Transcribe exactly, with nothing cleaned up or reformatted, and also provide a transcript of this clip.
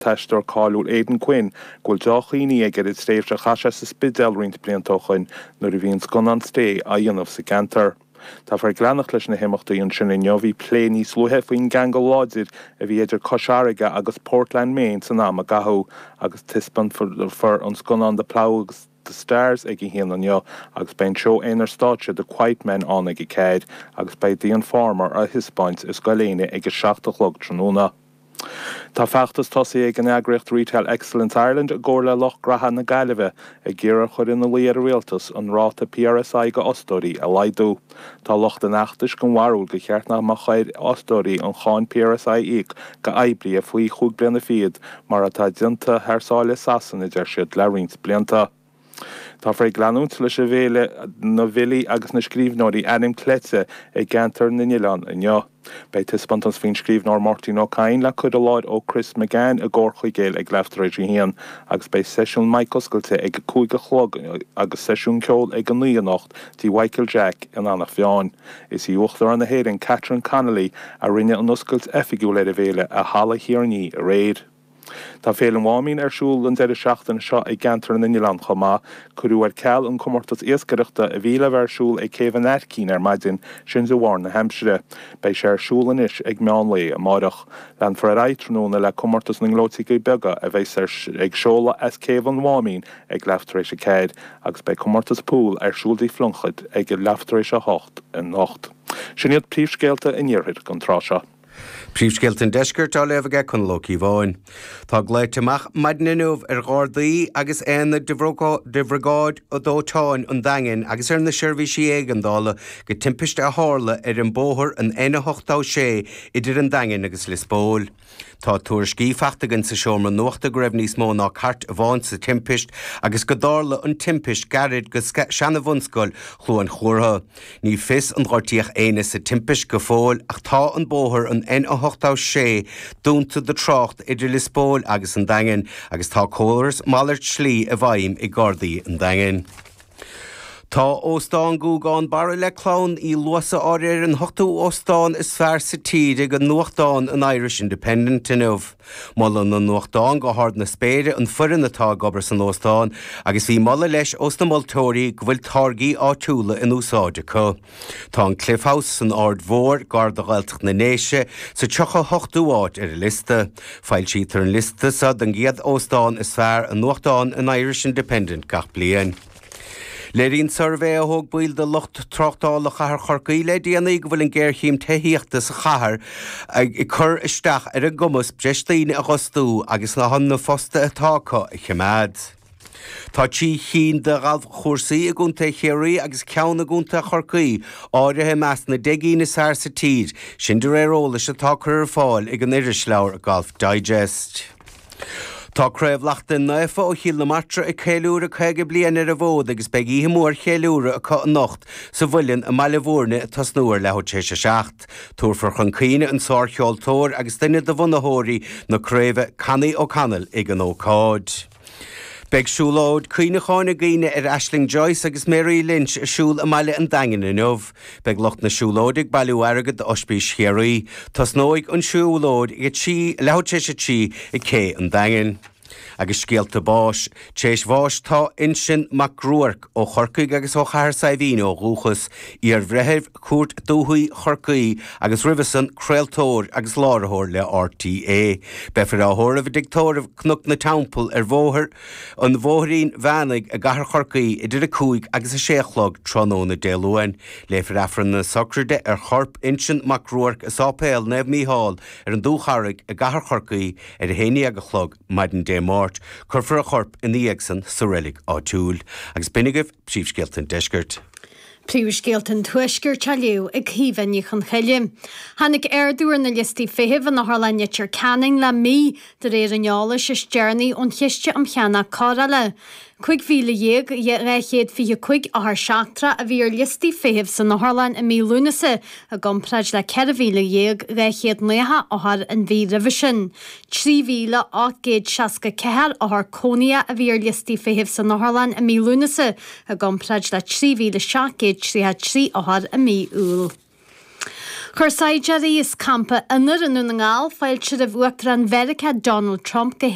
t-aisteoir cáiliúil Aidan Quinn go bhfuil dea-chuimhní aige ar an tréimhse a chaith sé sa Spidéal roinnt blianta ó shin nuair a bhí an scannán Stay á dhéanamh sa gceantar. Táfar ag leanacht leis na himeachtaí ansin inniu bhí plé níos luaithe faoin gceangal láidir a bhí idir Cois Fharraige agus Portland Maine san am a caitheadh agus taispeánfar an scannán The Plough agus The Stars ag a haon inniu agus beidh an seó aonair stáitse The Quiet Men ann ag a ceathair agus beidh The Informer á thaispeáint i Scoil Éinne ag a seacht a chlog tráthnóna. Tá feachtas tosaithe ag an eagraíocht Retail Excellence Ireland i gcomhar le Lucht Graithe na Gaillimhe ag iarraidh chur ina luí ar an rialtas an ráta PRSI go fhostóirí a laghdú. Tá lucht an fheachtais den bharúil gur cheart nach mbeadh ar fhostóirí an cháin PRSI a íoc go oibrithe faoi chúig bliana fichead mar atá déanta thar sáile i Sasana deir siad le roinnt blianta. Táfar ag leanúint leis an bhféile na bhfilí agus na scríbhneoirí Ainm Cleite i gceantar na nOileán inniu. Beidh taispeántas faoin scríbhneoir Máirtín Ó Cadhain le cur i láthair ó Chris McGann i gComhar Chuigéil ag leathuair tar éis a haon agus beidh seisiún mic oscailte ag a cúig a chlog agus seisiún ceoil ag a naoi anocht tí Michael Jack in Eanach Mheáin. Is í Uachtarán na hÉireann Catherine Connolly a rinne an oscailt oifigiúil ar an bhféile i Halla Thiarnaí aréir. Tá Féile an Mháimín ar siúl an deireadh seachtaine seo i gceantar na nOileán chomh maith, cuireadh ar ceal an comórtas iascaireachta a bhí le bheith ar siúl ag Céibh an Aircín ar maidin sin de bharr na haimsire. Beidh sé ar siúl anois ag meán lae amárach. Leanfar ar aghaidh tráthnóna le comórtas na ngleoiteogaí beaga a bheidh ag seoladh as Céibh an Mháimín ag leathuair tar éis a ceathair agus beidh comórtas pool ar siúl dTigh Phluincéid ag leathuair tar éis a hocht anocht. Sin iad príomhscéalta an iarthair don tráth seo. Príomhscéalta an deiscirt á léamh aige Conall Ó Cíobháin. Tá glaoite amach maidin inniu ar Ghardaí agus aonaid de Bhriogáid Dóiteáin an Daingin agus ar na seirbhísí éigeandála go timpiste a tharla ar an bóthar an N a hocht sé idir an Daingean agus Lios Póil. Tá tuairiscí faighte againn sa seomra nuachta go raibh níos mó ná cairt amháin sa timpist agus go dtarla an timpist gairid go seana-bhunscoil Chluain Chortha. Ní fios an gortaíodh éinne sa timpist go fóill ach tá an bóthar an N a hocht sé dúnta do trácht idir Lios Póil agus an Daingean agus tá córas malairt slí i bhfeidhm ag Gardaí an Daingin. Tá óstán Ghúgán Barra le clann Uí Luasa áirithe ar an ochtú óstán is fearr sa tír ag an nuachtán an Irish Independent inniu. Molann an nuachtán go hard na spéire an foireann atá ag obair san óstán agus bhí moladh leis ós na moltóirí go bhfuil táirgí áitiúla in úsáid acu. Tá an Cliff House san Aird Mhór gar do Ghaeltacht na nDéise sa tríocha hochtú áit ar an liosta. Foilsítear an liosta seo den gcéad óstán is fearr an nuachtán an Irish Independent gach bliain. Léiríonn suirbhé a thóg baill de lucht tráchtála chathair Chorcaí le déanaí go bhfuil an géarchéim tithíochta sa chathair ag cur isteach ar a gcumas breis daoine a fhostú agus na na fostaithe atá acu a choimeád. Tá trí cinn de ghalfchúrsaí i gContae Chiarraí agus ceann i gContae Chorcaí áirithe i measc na deich gcinn is fearr sa tír, sin de réir eolais atá curtha ar fáil ag an irisleabhar Golf Digest. Tá Craobh Lachtain Naofa ó Chill na Martra ag ceiliúradh caoga bliain ar an bhfód agus beidh oíche mhór cheiliúradh acu anocht sa Mhuileann i mBaile Bhúirne ag tosnú ar leathuair tar éis a seacht. Tabharfar chun cuimhne an sárcheoltóir agus duine de bhunaitheoirí na craoibhe Connie O'Connell ag an ócáid. Beidh siúlóid cuimhneacháin i gcuimhne ar Aisling Joyce agus Mary Lynch ar siúl i mBaile an Daingin inniu. Beidh lucht na siúlóide ag bailiú airgead d'Ospís Chiarraí. Tosnóidh an siúlóid ag trí leathuair tar éis a trí ag Cé an Daingin. Agus scéalta báis, tar éis bháis tá Uinseann Mac Ruairc ó Chorcaigh agus ó Chathair Saidhbhín ó dhúchas, iarbhreitheamh Cúirt Dúiche Chorcaí agus roimhe san craoltóir agus láithreoir le RTÉ. Beifear á thórramh i dtigh tórraimh Cnoc na Teampall ar bhóthar an Bhóithrín Mheánaigh i gCathair Chorcaí idir a cúig agus a sé a chlog tráthnóna Dé Luain. Léifear Aifreann na sochraide ar chorp Uinseann Mac Ruairc i Sáipéal Naomh Mícheál ar an Dúcharraig i gCathair Chorcaí ar a haon déag a chlog maidin Dé Máirt. Cuirfear a chorp ina dhiaidh san sa reilig áitiúil. Agus b'in agaibh príomhscéalta an deiscirt. Príomhscéalta an Tuaiscirt á léamh ag Caoimhe Ní Chonchoille. Tháinig ardú ar na liostaí feithimh in Otharlann Leitir Ceanainn le mí de réir an eolais is deireanaí ón Chiste um Cheannach Cóireála. Cúig mhíle dhéag dhá chéad fiche cúig othar seachtrach a bhí ar liostaí feithimh san otharlann i mí Lúnasa i gcomparáid le ceithre mhíle dhéag dhá chéad nócha othar an mhí roimhe sin. Trí mhíle ocht gcéad seasca ceathair othar cónaithe a bhí ar liostaí feithimh san otharlann i mí Lúnasa i gcomparáid le trí mhíle seacht gcéad tríocha trí othar i mí Iúil. Chuir saighdiúirí as campa Ionair i nDún na nGall fáilte roimh Uachtarán Mheiriceá Donald Trump go